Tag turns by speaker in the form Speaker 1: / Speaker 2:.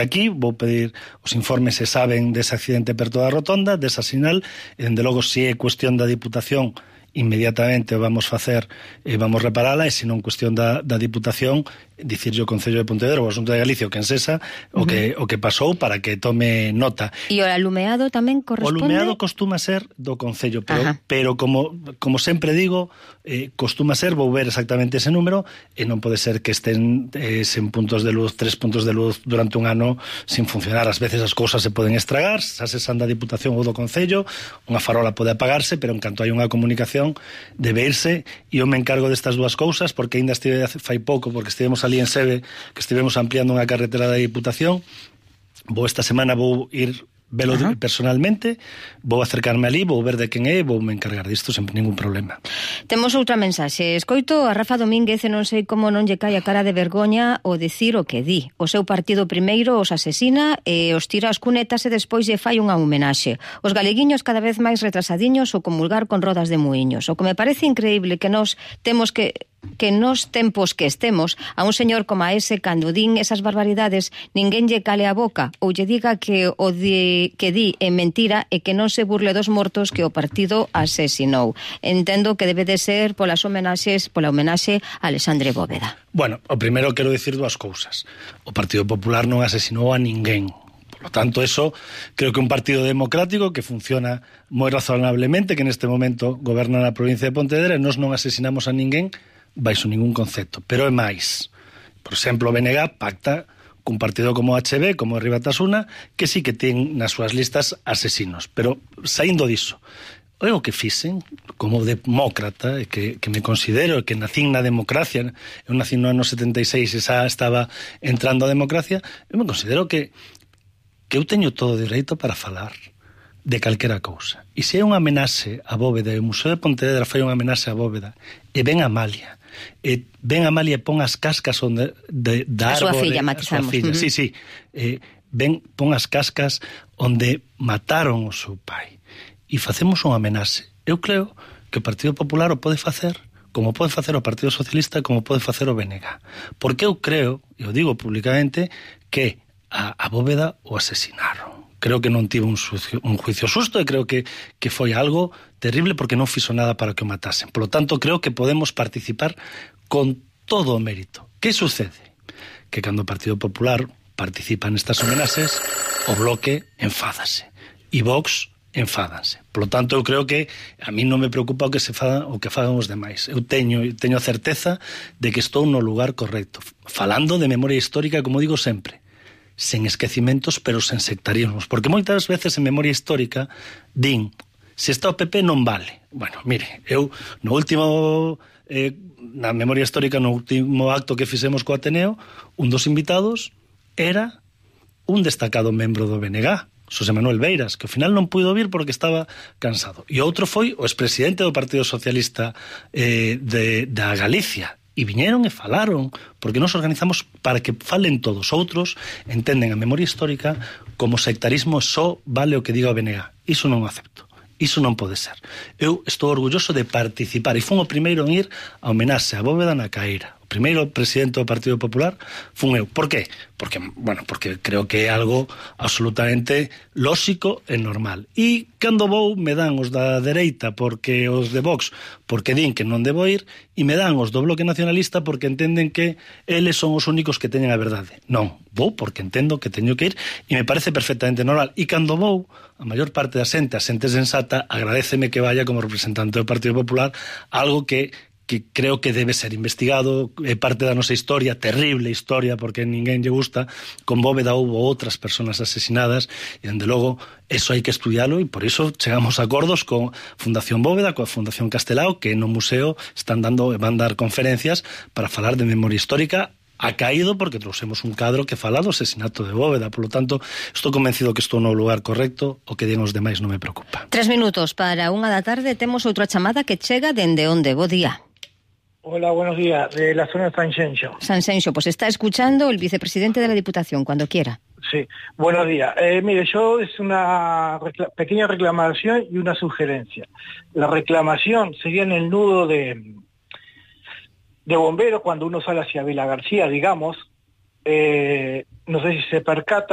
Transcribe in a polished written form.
Speaker 1: aquí, vou pedir os informes se saben dese accidente perto da rotonda, desa sinal, e dende logo se é cuestión da Diputación, inmediatamente vamos facer e vamos reparala, e se non cuestión da Diputación, dicirlle o Concello de Pontevedra ou o Asunto de Galicia o que ensesa o que pasou para que tome nota.
Speaker 2: E o alumeado tamén corresponde?
Speaker 1: O alumeado costuma ser do Concello, pero como sempre digo, costuma ser, vou ver exactamente ese número, e non pode ser que estén sen puntos de luz, 3 puntos de luz durante un ano sin funcionar. Ás veces as cousas se poden estragar, xa se san da Diputación ou do Concello, unha farola pode apagarse, pero en canto hai unha comunicación debe irse, e eu me encargo destas dúas cousas, porque ainda estive fai pouco, porque estivemos ali en Sebe, que estivemos ampliando unha carretera da Diputación. Esta semana vou ir velo personalmente, vou acercarme ali, vou ver de quen é, vou me encargar disto sen ningún problema.
Speaker 2: Temos outra mensaxe. Escoito a Rafa Domínguez e non sei como non lle cae a cara de vergoña o dicir o que di. O seu partido primeiro os asesina e os tira as cunetas e despois lle fai unha homenaxe. Os galeguiños cada vez máis retrasadiños o comulgar con rodas de muiños. O que me parece increíble que nos temos que nos tempos que estemos a un señor como a ese, cando din esas barbaridades, ninguén lle cale a boca ou lle diga que o que di é mentira e que non se burle dos mortos que o partido asesinou. Entendo que debe de ser pola homenaxe a Alexandre Bóveda.
Speaker 1: Bueno, o primeiro quero dicir dúas cousas. O Partido Popular non asesinou a ninguén. Por lo tanto, eso creo que un partido democrático que funciona moi razonablemente, que neste momento goberna na provincia de Pontevedra, e nós non asesinamos a ninguén baixo ningún concepto, pero é máis. Por exemplo, o BNG pacta cun partido como HB, como Rui Batasuna, que sí que ten nas súas listas asesinos, pero saindo diso, é o que fixen como demócrata, que me considero que nacín na democracia, eu nací no ano 76 e xa estaba entrando a democracia, eu me considero que eu teño todo o dereito para falar de calquera cousa. E se é unha amenaxe a Bóveda, e o Museo de Pontevedra fai unha amenaxe a Bóveda, e ven Amalia, e pon as cascas onde da árbore,
Speaker 2: a súa filla, matizamos.
Speaker 1: Sí, pon as cascas onde mataron o seu pai, e facemos unha amenaxe. Eu creo que o Partido Popular o pode facer, como pode facer o Partido Socialista, como pode facer o BNG. Porque eu creo, e o digo públicamente, que a Bóveda o asesinaron. Creo que non tivo un juicio xusto, e creo que foi algo terrible porque non fixo nada para que o matasen. Por lo tanto, creo que podemos participar con todo o mérito. Que sucede? Que cando o Partido Popular participa nestas homenaxes, o Bloque enfádase. E Vox enfádanse. Por lo tanto, eu creo que a mí non me preocupa o que fagan os demais. Eu teño a certeza de que estou no lugar correcto. Falando de memoria histórica, como digo sempre, sen esquecimentos, pero sen sectarismos. Porque moitas veces en memoria histórica din, se está o PP non vale. Bueno, mire, eu no último, na memoria histórica, no último acto que fixemos co Ateneo, un dos invitados era un destacado membro do BNG, Xosé Manuel Beiras, que ao final non puido vir porque estaba cansado. E outro foi o expresidente do Partido Socialista da Galicia. E viñeron e falaron, porque nos organizamos para que falen todos. Outros entenden a memoria histórica como sectarismo, só vale o que diga o BNG. Iso non o acepto. Iso non pode ser. Eu estou orgulloso de participar, e fun o primeiro en ir a homenaxe a Bóveda na Caeira. O primeiro presidente do Partido Popular fun eu. Por qué? Porque creo que é algo absolutamente lóxico e normal. E cando vou, me dan os da dereita, porque os de Vox, porque din que non debo ir, e me dan os do Bloque Nacionalista porque entenden que eles son os únicos que teñen a verdade. Non, vou porque entendo que teño que ir, e me parece perfectamente normal. E cando vou, a maior parte da xente, a xente sensata, agradéceme que vaya como representante do Partido Popular, algo que creo que debe ser investigado, é parte da nosa historia, terrible historia, porque ninguén lle gusta. Con Bóveda houve outras persoas asesinadas, e, dende logo, eso hai que estudialo, e por iso chegamos a acordos con Fundación Bóveda, coa Fundación Castelao, que no museo van dar conferencias para falar de memoria histórica. Ha caído porque trouxemos un cadro que fala do asesinato de Bóveda. Por lo tanto, estou convencido que estou no lugar correcto. O que digan os demais non me preocupa.
Speaker 2: 3 minutos para 1 da tarde. Temos outra chamada que chega dende onde. Bo día.
Speaker 3: Hola, buenos días, de la zona de Sanxenxo.
Speaker 2: Sanxenxo, pues está escuchando el vicepresidente de la Diputación, cuando quiera.
Speaker 3: Sí, buenos días. Mire, yo es una pequeña reclamación y una sugerencia. La reclamación sería en el nudo de bomberos, cuando uno sale hacia Vila García, digamos, no sé si se percatan,